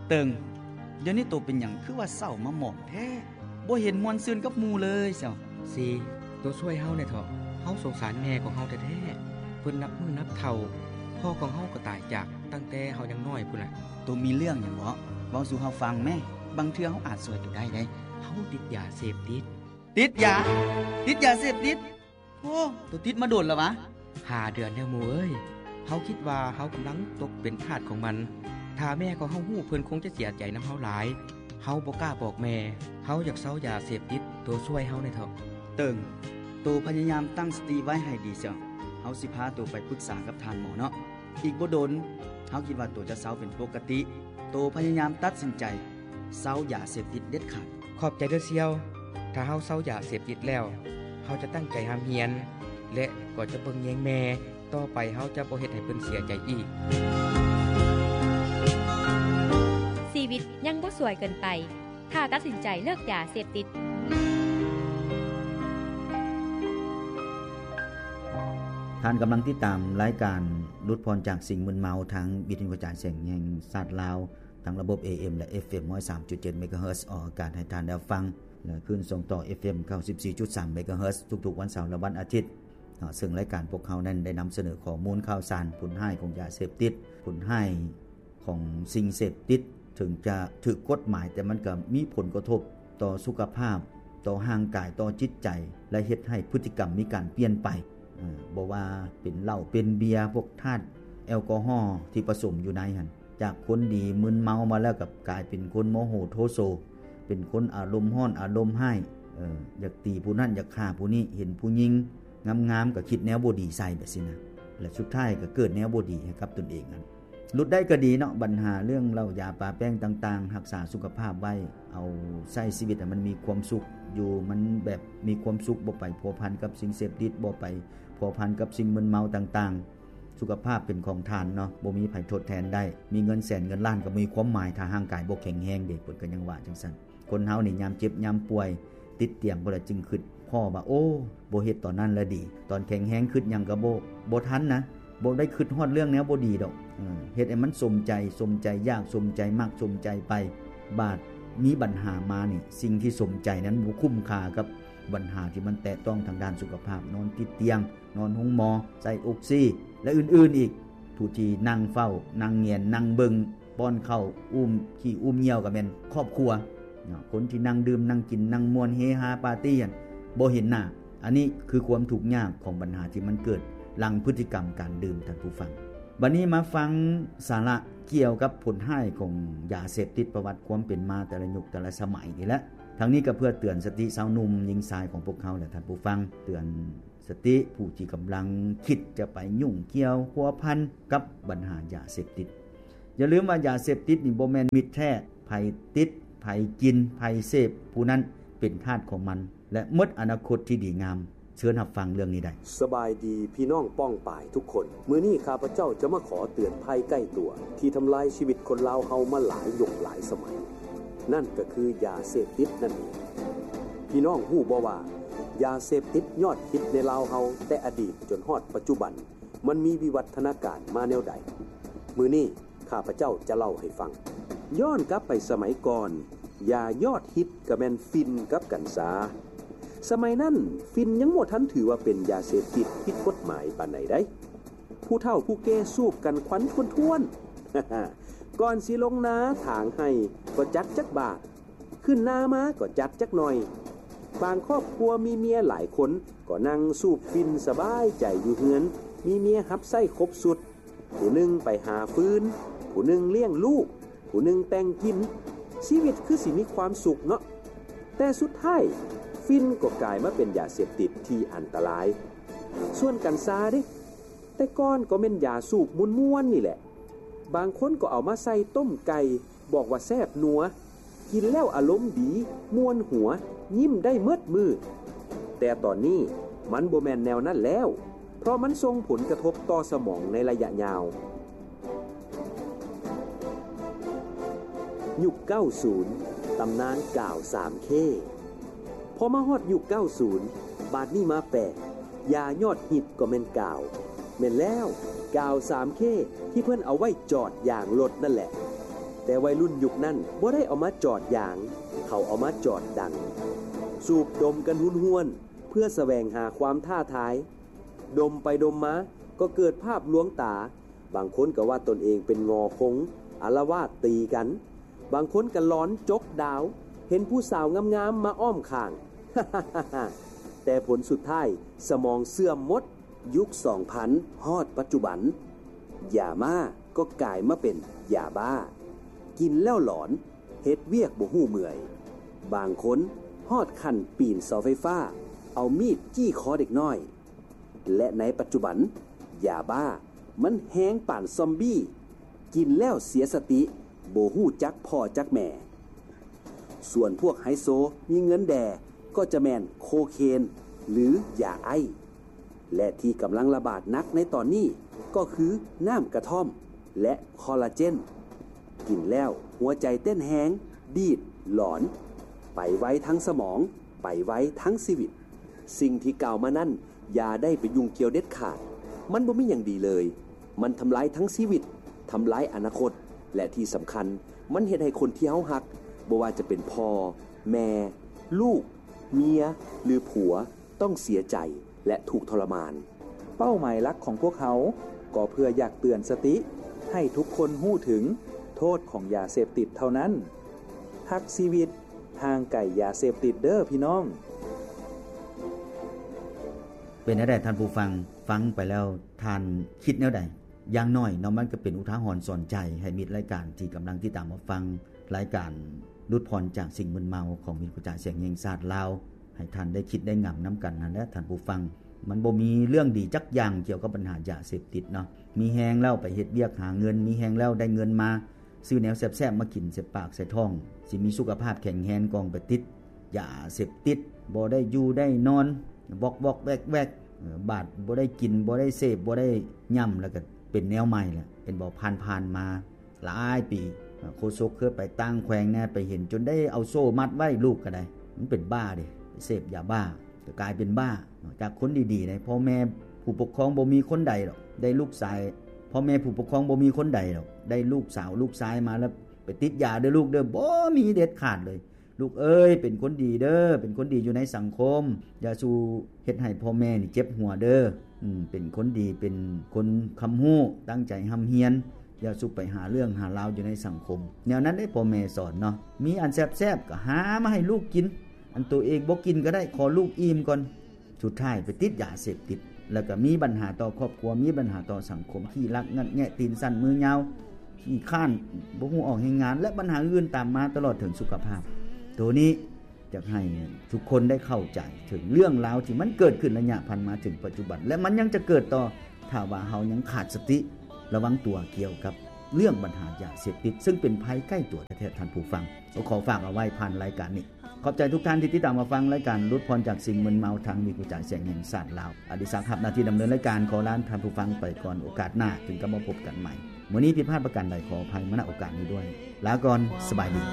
ເຕີງ, ດຽວນີ້ໂຕເປັນຫຍັງຄືວ່າເສົ້າມາໝອງແທ້? ບໍ່ເຫັນມ່ວນຊື່ນກັບໝູ່ເລີຍຊະ. ຊີ, ໂຕຊ່ວຍເຮົາແດ່ເຖາະ. ເຮົາສົງສານແມ່ຂອງເຮົາແທ້ໆ. ເພິ່ນນັບມື້ນັບເຖົ້າ. ພໍ່ຂອງເຮົາກໍຕາຍຈາກຕັ້ງແຕ່ເຮົາຍັງນ້ອຍພຸ້ນລະ. ໂຕມີເລື່ອງຫຍັງເບາະ? ເວົ້າສູ່ເຮົາຟັງແມ້. ບາງເທື່ອເຮົາອາດຊ່ວຍໂຕໄດ້ເດ້. ເຮົາຕິດຢາເສບຕິດ. ຕິດຢາ? ຕິດຢາເສບຕິດ? ໂອ້ ໂຕຕິດມາດົນແລ້ວຫວາ? ຫ້າເດືອນແລ້ວໝູ່ເອີຍ. ເຮົາຄິດວ່າເຮົາກຳລັງຕົກເປັນທາດຂອງມັນ. ຖ້າແມ່ຂອງເຮົາຮູ້ ເພິ່ນຄົງຈະເສຍໃຈນຳເຮົາຫຼາຍ. ເຮົາບໍ່ກ້າບອກແມ່. ເຮົາຢາກເຊົາຢາເສບຕິດ. ໂຕຊ່ວຍເຮົາແດ່ເຖາະ. ເຕີງ, ໂຕພະຍາຍາມຕັ້ງສະຕິໄວ້ໃຫ້ດີເຊາະ. ເຮົາຊິພາໂຕໄປປຶກສາກັບທ່ານໝໍເນາະ. ອີກບໍ່ດົນ, ເຮົາຄິດວ່າໂຕຈະເຊົາເປັນປົກກະຕິ. ໂຕພະຍາຍາມຕັດສິນໃຈເຊົາຢາເສບຕິດເດັດຂາດ. ຂອບໃຈເດີສ່ຽວ. ຖ້າເຮົາເຊົາຢາເສບຕິດແລ້ວ, ເຮົາຈະຕັ້ງໃຈຮ່ຳຮຽນ ແລະ ກໍຈະເບິ່ງແຍງແມ່. ຕໍ່ໄປເຮົາຈະບໍ່ເຮັດໃຫ້ເພິ່ນເສຍໃຈອີກ. ຊີວິດຍັງບໍ່ສວຍເກີນໄປ ຖ້າຕັດສິນໃຈເລີກຢາເສບຕິດ. ທ່ານກຳລັງຕິດຕາມລາຍການຫຼຸດຜ່ອນຈາກສິ່ງມຶນເມົາ ທາງວິທະຍຸກະຈາຍສຽງແຫ່ງຊາດລາວ ທັງລະບົບ ເອເອັມ ແລະ ເອັບເອັມ ຮ້ອຍສາມຈຸດເຈັດ ເມກາເຮີດ ອອກອາກາດໃຫ້ທ່ານໄດ້ຟັງ ແລະ ຄື້ນສົ່ງຕໍ່ ເອັບເອັມ ເກົ້າສິບສີ່ຈຸດສາມ ເມກາເຮີດ ທຸກໆວັນເສົາ ແລະ ວັນອາທິດເນາະ. ເຊິ່ງລາຍການພວກເຮົານັ້ນໄດ້ນຳສະເໜີຂໍ້ມູນຂ່າວສານ ຜົນຮ້າຍຂອງຢາເສບຕິດ, ຜົນຮ້າຍຂອງສິ່ງເສບຕິດ ເຖິງຈະຖືກກົດໝາຍ ແຕ່ມັນກໍມີຜົນກະທົບຕໍ່ສຸຂະພາບ, ຕໍ່ຮ່າງກາຍ, ຕໍ່ຈິດໃຈ ແລະ ເຮັດໃຫ້ພຶດຕິກຳມີການປ່ຽນໄປ. ເອີ ບໍ່ວ່າເປັນເຫຼົ້າເປັນເບຍ, ພວກທາດແອລກໍຮໍທີ່ປະສົມຢູ່ໃນຫັ້ນ ຈາກຄົນດີມຶນເມົາມາແລ້ວ ກັບກາຍເປັນຄົນໂມໂຫໂທໂສ, ເປັນຄົນອາລົມຮ້ອນອາລົມຮ້າຍ, ເອີ ຢາກຕີຜູ້ນັ້ນ ຢາກຂ້າຜູ້ນີ້, ເຫັນຜູ້ຍິງງາມໆກໍຄິດແນວບໍ່ດີໃສ່ແບບຊີ້ນະ ແລະ ສຸດທ້າຍກໍເກີດແນວບໍ່ດີໃຫ້ກັບຕົນເອງຫັ້ນ. ຫຼຸດໄດ້ກໍດີເນາະ, ບັນຫາເລື່ອງເຫຼົ້າຢາປາແປ້ງຕ່າງໆ, ຮັກສາສຸຂະພາບໄວ້, ເອົາໃຊ້ຊີວິດໃຫ້ມັນມີຄວາມສຸກຢູ່, ມັນແບບມີຄວາມສຸກ, ບໍ່ໄປພົວພັນກັບສິ່ງເສບຕິດ, ບໍ່ໄປພົວພັນກັບສິ່ງມຶນເມົາຕ່າງໆ. ສຸຂະພາບເປັນຂອງທ່ານເນາະ, ບໍ່ມີໃຜທົດແທນໄດ້. ມີເງິນແສນເງິນລ້ານກໍບໍ່ມີຄວາມໝາຍ ຖ້າຮ່າງກາຍບໍ່ແຂງແຮງເດ, ເພິ່ນກໍຍັງວ່າຈັ່ງຊັ້ນ. ຄົນເຮົານີ້ຍາມເຈັບຍາມປ່ວຍ ຕິດຕຽງພຸ້ນລະຈຶ່ງຄິດພໍ້ວ່າ ໂອ້ ບໍ່ເຮັດຕອນນັ້ນລະດີ, ຕອນແຂງແຮງຄິດຫຍັງກໍບໍ່ ບໍ່ທັນນະ, ບໍ່ໄດ້ຄິດຮອດເລື່ອງແນວບໍ່ດີດອກ. ເອີ ເຮັດໃຫ້ມັນສົມໃຈ, ສົມໃຈຢາກ, ສົມໃຈມັກ, ສົມໃຈໄປ. ບາດມີບັນຫາມານີ້, ສິ່ງທີ່ສົມໃຈນັ້ນບໍ່ຄຸ້ມຄ່າກັບບັນຫາທີ່ມັນແຕະຕ້ອງທາງດ້ານສຸຂະພາບ, ນອນຕິດຕຽງ, ນອນໂຮງໝໍ, ໃສ່ອົກຊີ ແລະ ອື່ນໆອີກ. ຜູ້ທີ່ນັ່ງເຝົ້າ, ນັ່ງແງນ, ນັ່ງເບິ່ງ, ປ້ອນເຂົ້າ, ອຸ້ມຂີ້ອຸ້ມຍ່ຽວກໍແມ່ນຄອບຄົວເນາະ. ຄົນທີ່ນັ່ງດື່ມ, ນັ່ງກິນ, ນັ່ງມ່ວນເຮຮາປາຕີຫັ້ນ ບໍ່ເຫັນໜ້າ. ອັນນີ້ຄືຄວາມທຸກຍາກຂອງບັນຫາທີ່ມັນເກີດຫຼັງພຶດຕິກຳການດື່ມ, ທ່ານຜູ້ຟັງ. ບັດນີ້ມາຟັງສາລະກ່ຽວກັບຜົນຮ້າຍຂອງຢາເສບຕິດ, ປະຫວັດຄວາມເປັນມາແຕ່ລະຍຸກແຕ່ລະສະໄໝນີ້ແຫຼະ. ທັງນີ້ກໍເພື່ອເຕືອນສະຕິຊາວໜຸ່ມຍິງຊາຍຂອງພວກເຮົາ ແລະ ທ່ານຜູ້ຟັງ, ເຕືອນ ສະຕິຜູ້ທີ່ກຳລັງຄິດຈະໄປຫຍຸ້ງກ່ຽວພົວພັນກັບບັນຫາຢາເສບຕິດ. ຢ່າລືມວ່າຢາເສບຕິດນີ້ບໍ່ແມ່ນມິດແທ້, ໃຜຕິດ, ໃຜກິນ, ໃຜເສບ, ຜູ້ນັ້ນເປັນທາດຂອງມັນ ແລະ ໝົດອະນາຄົດທີ່ດີງາມ. ເຊີນຮັບຟັງເລື່ອງນີ້ໄດ້. ສະບາຍດີພີ່ນ້ອງປ້ອງປາຍທຸກຄົນ. ມື້ນີ້ຂ້າພະເຈົ້າຈະມາຂໍເຕືອນໄພໃກ້ຕົວ ທີ່ທຳລາຍຊີວິດຄົນລາວເຮົາມາຫຼາຍຍຸກຫຼາຍສະໄໝ. ນັ້ນກໍຄືຢາເສບຕິດນັ້ນເອງ. ພີ່ນ້ອງຮູ້ບໍ່ວ່າ ຢາເສບຕິດຍອດຮິດໃນລາວເຮົາແຕ່ອະດີດຈົນຮອດປັດຈຸບັນ ມັນມີວິວັດທະນາການມາແນວໃດ? ມື້ນີ້ຂ້າພະເຈົ້າຈະເລົ່າໃຫ້ຟັງ. ຍ້ອນກັບໄປສະໄໝກ່ອນ, ຢາຍອດຮິດກໍແມ່ນຝິ່ນກັບກັນຊາ. ສະໄໝນັ້ນ ຝິ່ນຍັງບໍ່ທັນຖືວ່າເປັນຢາເສບຕິດຜິດກົດໝາຍປານໃດໃດ. ຜູ້ເຖົ້າຜູ້ແກ່ສູບກັນຄວັນຖ້ວນໆ. ກ່ອນຊິລົງນາຖາງໄຮ່ກໍຈັດຈັກບາດ, ຂຶ້ນນາມາກໍຈັດຈັກໜ່ອຍ. ບາງຄອບຄົວມີເມຍຫຼາຍຄົນກໍນັ່ງສູບຝິ່ນສະບາຍໃຈຢູ່ເຮືອນ, ມີເມຍຮັບໃຊ້ຄົບຊຸດ. ຜູ້ໜຶ່ງໄປຫາຟືນ, ຜູ້ໜຶ່ງລ້ຽງລູກ, ຜູ້ໜຶ່ງແຕ່ງກິນ. ຊີວິດຄືຊິມີຄວາມສຸກເນາະ. ແຕ່ສຸດທ້າຍ ຝິ່ນກໍກາຍມາເປັນຢາເສບຕິດທີ່ອັນຕະລາຍ. ສ່ວນກັນຊາເດ? ແຕ່ກ່ອນກໍແມ່ນຢາສູບມ່ວນໆນີ້ແຫຼະ. ບາງຄົນກໍເອົາມາໃສ່ຕົ້ມໄກ່, ບອກວ່າແຊບນົວ, ກິນແລ້ວອາລົມດີ, ມ່ວນຫົວ, ຍິ້ມໄດ້ໝົດມື້. ແຕ່ຕອນນີ້ມັນບໍ່ແມ່ນແນວນັ້ນແລ້ວ, ເພາະມັນສົ່ງຜົນກະທົບຕໍ່ສະໝອງໃນໄລຍະຍາວ. ຍຸກເກົ້າສິບ ຕຳນານກາວສາມເຄ. ພໍມາຮອດຍຸກເກົ້າສິບ ບາດນີ້ມາແປກ, ຢາຍອດຮິດກໍແມ່ນກາວ. ແມ່ນແລ້ວ, ກາວສາມເຄ ທີ່ເພິ່ນເອົາໄວ້ຈອດຢາງລົດນັ້ນແຫຼະ. ແຕ່ໄວລຸ້ນຍຸກນັ້ນບໍ່ໄດ້ເອົາມາຈອດຢາງ, ເຂົາເອົາມາຈອດດັງ, ສູບດົມກັນຮຸນຮວນ ເພື່ອສະແຫວງຫາຄວາມທ້າທາຍ. ດົມໄປດົມມາກໍເກີດພາບລວງຕາ, ບາງຄົນກໍວ່າຕົນເອງເປັນງໍຄົງ ອາລະວາດຕີກັນ, ບາງຄົນກໍຫຼອນຈົກດາວ ເຫັນຜູ້ສາວງາມໆມາອ້ອມຂ້າງ. ແຕ່ຜົນສຸດທ້າຍສະໝອງເສື່ອມໝົດ. ຍຸກສອງພັນຮອດປັດຈຸບັນ, ຢາມ້າກໍກາຍມາເປັນຢາບ້າ. ກິນແລ້ວຫຼອນ, ເຮັດວຽກບໍ່ຮູ້ເມື່ອຍ. ບາງຄົນຮອດຂັ້ນປີນເສົາໄຟຟ້າ, ເອົາມີດຈີ້ຄໍເດັກນ້ອຍ. ແລະ ໃນປັດຈຸບັນ, ຢາບ້າມັນແຮງປານຊອມບີ້, ກິນແລ້ວເສຍສະຕິ, ບໍ່ຮູ້ຈັກພໍ່ຈັກແມ່. ສ່ວນພວກໄຮໂຊມີເງິນແດ່ ກໍຈະແມ່ນໂຄເຄນ ຫຼື ຢາໄອ. ແລະ ທີ່ກຳລັງລະບາດໜັກໃນຕອນນີ້ ກໍຄືນ້ຳກະທ່ອມ ແລະ ຄໍລາເຈນ. ກິນແລ້ວຫົວໃຈເຕັ້ນແຮງ, ດີດ, ຫຼອນ, ໄປໄວທັງສະໝອງ, ໄປໄວທັງຊີວິດ. ສິ່ງທີ່ກ່າວມານັ້ນ ຢ່າໄດ້ໄປຫຍຸ້ງກ່ຽວເດັດຂາດ. ມັນບໍ່ມີຫຍັງດີເລີຍ. ມັນທຳລາຍທັງຊີວິດ, ທຳລາຍອະນາຄົດ ແລະ ທີ່ສຳຄັນ, ມັນເຮັດໃຫ້ຄົນທີ່ເຮົາຮັກ, ບໍ່ວ່າຈະເປັນພໍ່, ແມ່, ລູກ, ເມຍ ຫຼື ຜົວ, ຕ້ອງເສຍໃຈ ແລະ ທຸກທໍລະມານ. ເປົ້າໝາຍຫຼັກຂອງພວກເຮົາກໍເພື່ອຢາກເຕືອນສະຕິໃຫ້ທຸກຄົນຮູ້ເຖິງໂທດຂອງຢາເສບຕິດເທົ່ານັ້ນ. ຮັກຊີວິດ, ຫ່າງໄກຢາເສບຕິດເດີ້ພີ່ນ້ອງ. ເປັນແນວໃດທ່ານຜູ້ຟັງ? ຟັງໄປແລ້ວທ່ານຄິດແນວໃດ? ຢ່າງໜ້ອຍເນາະ ມັນກໍເປັນອຸທາຫອນສອນໃຈໃຫ້ມິດລາຍການທີ່ກຳລັງຕິດຕາມຮັບຟັງລາຍການຫຼຸດຜ່ອນຈາກສິ່ງມຶນເມົາຂອງວິທະຍຸກະຈາຍສຽງແຫ່ງຊາດລາວ ໃຫ້ທ່ານໄດ້ຄິດໄດ້ງຳນຳກັນຫັ້ນແຫຼະທ່ານຜູ້ຟັງ. ມັນບໍ່ມີເລື່ອງດີຈັກຢ່າງກ່ຽວກັບບັນຫາຢາເສບຕິດເນາະ. ມີແຮງແລ້ວໄປເຮັດວຽກຫາເງິນ, ມີແຮງແລ້ວໄດ້ເງິນມາ ຊື້ແນວແຊບໆມາກິນໃສ່ປາກໃສ່ທ້ອງ, ຊິມີສຸຂະພາບແຂງແຮງ ກໍໄປຕິດຢາເສບຕິດ, ບໍ່ໄດ້ຢູ່ໄດ້ນອນ, ວອກໆແວກໆ, ບາດບໍ່ໄດ້ກິນ, ບໍ່ໄດ້ເສບ, ບໍ່ໄດ້ຫຍ້ຳ ແລ້ວກໍເປັນແນວໃໝ່ແຫຼະ. ເຫັນບໍ່? ຜ່ານໆມາຫຼາຍປີ, ໂຄສົກເຄີຍໄປຕ່າງແຂວງແດ່, ໄປເຫັນຈົນໄດ້ເອົາໂສ້ມັດໄວ້, ລູກກໍໄດ້. ມັນເປັນບ້າເດ້, ໄປເສບຢາບ້າ. ກໍກາຍເປັນບ້າ. ຈາກຄົນດີໆໃດ໋ ພໍ່ແມ່ຜູ້ປົກຄອງບໍ່ມີຄົນໃດດອກ ໄດ້ລູກຊາຍ, ພໍ່ແມ່ຜູ້ປົກຄອງບໍ່ມີຄົນໃດດອກ ໄດ້ລູກສາວລູກຊາຍມາແລ້ວ ໄປຕິດຢາເດີ້ລູກເດີ້. ບໍ່ມີເດັດຂາດເລີຍ. ລູກເອີຍ ເປັນຄົນດີເດີ້, ເປັນຄົນດີຢູ່ໃນສັງຄົມ, ຢ່າສູ່ເຮັດໃຫ້ພໍ່ແມ່ນີ້ເຈັບຫົວເດີ້. ເປັນຄົນດີ ເປັນຄົນຄຳຮູ້, ຕັ້ງໃຈຮ່ຳຮຽນ, ຢ່າສູ່ໄປຫາເລື່ອງຫາລາວຢູ່ໃນສັງຄົມ. ແນວນັ້ນເດ້ພໍ່ແມ່ສອນເນາະ. ມີອັນແຊບໆກໍຫາມາໃຫ້ລູກກິນ, ອັນໂຕເອງບໍ່ກິນກໍໄດ້, ຂໍລູກອີ່ມກ່ອນ. ສຸດທ້າຍໄປຕິດຢາເສບຕິດ, ແລ້ວກໍມີບັນຫາຕໍ່ຄອບຄົວ, ມີບັນຫາຕໍ່ສັງຄົມ, ຂີ້ລັກ, ງັດແງະ, ຕີນສັ້ນ, ມືຍາວ, ຂີ້ຄ້ານ, ບໍ່ຮູ້ອອກແຮງງານ ແລະ ບັນຫາອື່ນຕາມມາຕະຫຼອດເຖິງສຸຂະພາບ. ໂຕນີ້ຢາກໃຫ້ທຸກຄົນໄດ້ເຂົ້າໃຈເຖິງເລື່ອງລາວທີ່ມັນເກີດຂຶ້ນໄລຍະຜ່ານມາເຖິງປັດຈຸບັນ ແລະ ມັນຍັງຈະເກີດຕໍ່ ຖ້າວ່າເຮົາຍັງຂາດສະຕິ ລະວັງຕົວກ່ຽວກັບເລື່ອງບັນຫາຢາເສບຕິດ ເຊິ່ງເປັນໄພໃກ້ຕົວແທ້ໆ ທ່ານຜູ້ຟັງ. ກໍຂໍຝາກເອົາໄວ້ຜ່ານລາຍການນີ້. ຂອບໃຈທຸກທ່ານທີ່ຕິດຕາມຮັບຟັງລາຍການຫຼຸດຜ່ອນຈາກສິ່ງມຶນເມົາທາງວິທະຍຸກະຈາຍສຽງແຫ່ງຊາດລາວ. ອະດິສັກ ຮັບໜ້າທີ່ດຳເນີນລາຍການ ຂໍລາທ່ານຜູ້ຟັງໄປກ່ອນ. ໂອກາດໜ້າຈຶ່ງກັບມາພົບກັນໃໝ່. ມື້ນີ້ຜິດພາດປະການໃດ ຂໍອະໄພມາ ນະໂອກາດນີ້ດ້ວຍ. ລາກ່ອນ, ສະບາຍດີ.